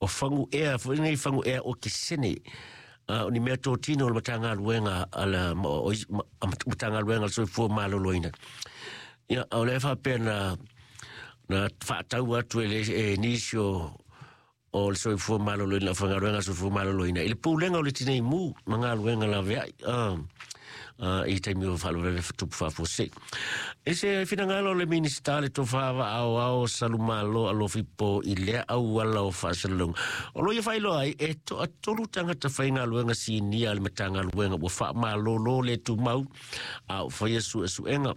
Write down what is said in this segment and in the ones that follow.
o faguʻea foi lenei faguʻea okesene o ni meatotino o le Matagaluega a le Matagaluega a le Soifua Maloloina. Ia, o lea faapea na na faatau atu e, le, e nisi o o le soifua maloloina, le aufaigaluega a le soifua maloloina i le pulega o le tinei mu ma galuega laveai i taimi o faalavelave tupu faafuasei. I se finagalo o le Minisita le Tofa Vaaoao Salumalo Alofi Po i lea auala o faasalalauga, o lo ia faailoa ai e toatolu tagata faigaluega sinia a le Matagaluega ua faamalolo le tumau a o faia suesuega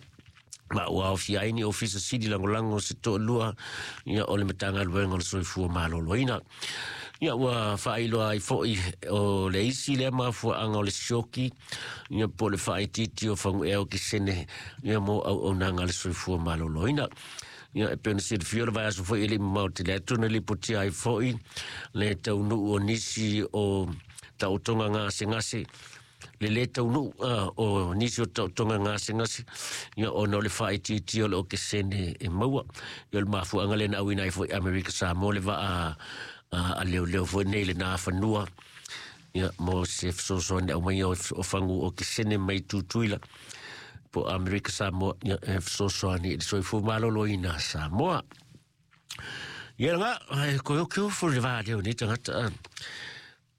ma ua aofia ai ni ofisa sili lagolago se toalua ia o le Matagaluega o le Soifua Maloloina. Ia ua faailoa ai foi o le isi lea mafuaaga o le sioki ia po o le faaitiiti o faguʻea okesene ia mo auaunaga a le soifua maloloina. Ia e pei ona silafia o le vaiaso foi e le i mamao tele atu na lipotia ai foi le taunuu o nisi o taotoga gasegase le lē taunuu o nisi o taotoga gasegase ia ona o le faaitiitia o le okesene e maua. Ia o le mafuaaga lea na auina ai foi Amerika Samoa le vaa a leoleo foi nei le nafanua ia mo se fesoasoani aumaia o fagu okesene mai Tutuila po Amerika Samoa ia e fesoasoani i le soifua maloloina Samoa. Ia nga e koe o keo fo le vā leo nei tagata.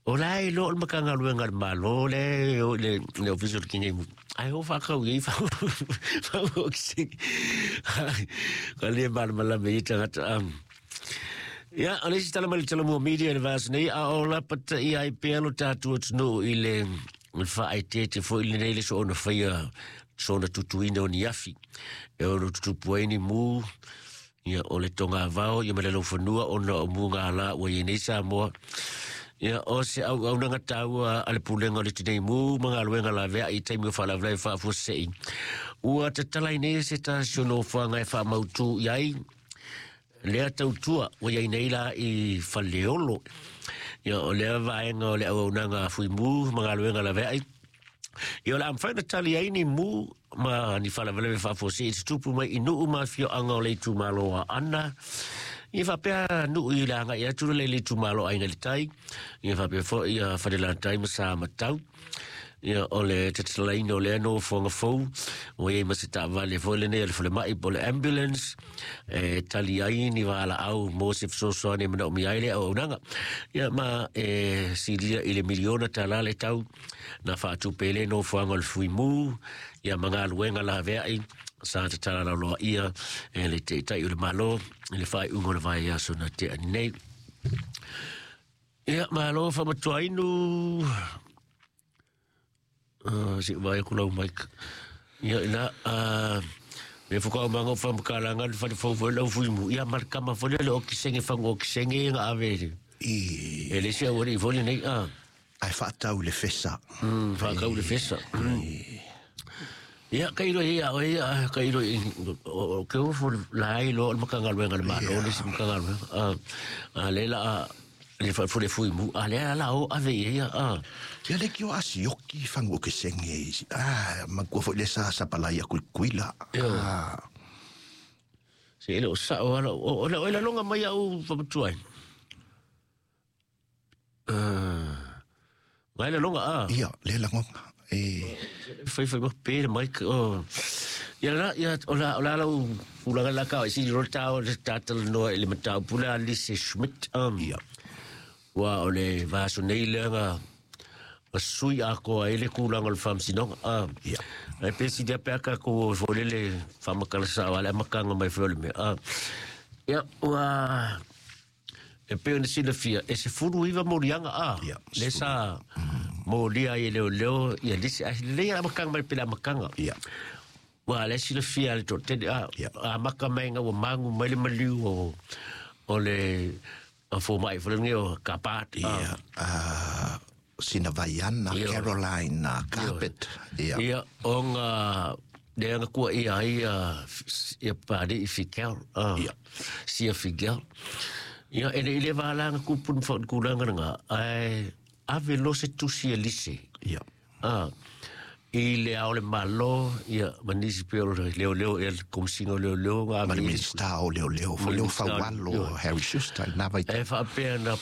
O la e lo o le Matagaluega a le Malo le o le le ofisa o le Tinei Mu. Ai o whakau i whau whau o ki Ka le malamalama i tagata. Ia, o le isi tala mai le Talamua Media i le vaiaso nei, a o lapataia ai pea lo tatou atunuu i le faaeteete foi lenei le soona faia soona tutuina o ni afi e ono tutupu ai ni mu ia o le togavao ia ma le laufanua ona o mugala ua i ai nei Samoa. Ia o se auaunaga taua a le Pulega o le Tinei Mu ma galuega laveai i taimi o faalavelave faafuasei ua tatala ai nei se tasi o nofoaga e faamautu i ai lea tautua ua i ai nei la i Faleolo. Ia o lea vaega o le auaunaga a Fuimu ma galuega laveai Ia o le a mafai ona tali ai ni mu ma ni faalavelave faafuasei i tutupu mai i nuu ma afioaga o le itumalo o Aana. Ia faapea nuu i le agai atu le le itumalo o Aiga i le Tai, ia faapea foi ia Falelatai ma Samatau. Ia o le tatalaina o lea nofoaga fou, ua i ai ma se taavale foi lenei a le falemai po o le ambulance e tali ai ni valaau mo se fesoasoani e manaomia ai le auaunaga. Ia ma e silia i le miliona tala le tau na faatupe le nofoaga o le Fuimu ia ma galuega laveai sa tatala lauloa ia e le Taitai o le Malo i le faaiuga o le vaiaso na tea nei. Ia, malo faamatuainu. Se i vaai atu lau mic. Ia, ina, me whakaumanga o whamakalanga le whare fau foi lau fuimu. Ia, ma le kama foi le okisenge whango okisenge nga ave le. I E le se au foi lenei. Ae faatau i le fesa. Whakau le fesa. Ia, kai roi ia, oi, kai roi, o ke o fo la ai lo o le Matagaluega a le Malo, le isi Matagaluega. A le la, le fa fo le fuimu, a le la o ave ia, a. Ia le ki o asioki fangu o ke senge. Ah, mankua foi le sa sapalai a kuikuila. Ah. Se ele o sa o ala, o o la longa mai au whamatua ai. Ngai le longa a. Ia, le langonga. E. Fai fai mo pe mai o. Ia la ia o la o la lau pulaga la ka si ro ta o le tata no le mata pula Lise Schmidt. Ia. Ua o le vaso nei le nga sui a ko ai le kulaga o le faamasinoga a. Ia. Ai pe si dia pe ka ko fo le le faamakala sa wala makanga mai fo le me. A. Ia ua E pei ona silafia, e 19 moliaga a, Ia, le sa molia ai e leoleo ia lisi, ae lelei a amataga mai pe le amataga. Ia. Ua le silafia e le toatele, a, Ia. amata mai ina ua magu mai le maliu o, o le fomai foi lenei o Kapat. A. Ia, a, sina Vaiana, Ia. Caroline, Carpet. Ia. Ia, ona lea na kuaia ai ia, ia Papalii Figel, Ia. Sia Figel. Ia, e le i le vala na kupun fa kulaga lena, ae ave loa se tusi e lise. Ia. I le Ao o le Malo, ia, ma nisi pei o le leoleo, ia le Komesina o Leoleo, Ma le Minisita o Leoleo, Ma le Leo Minisita o Faualo, Leoleo. Harry Schuster, i na vaitaimi. E faapea na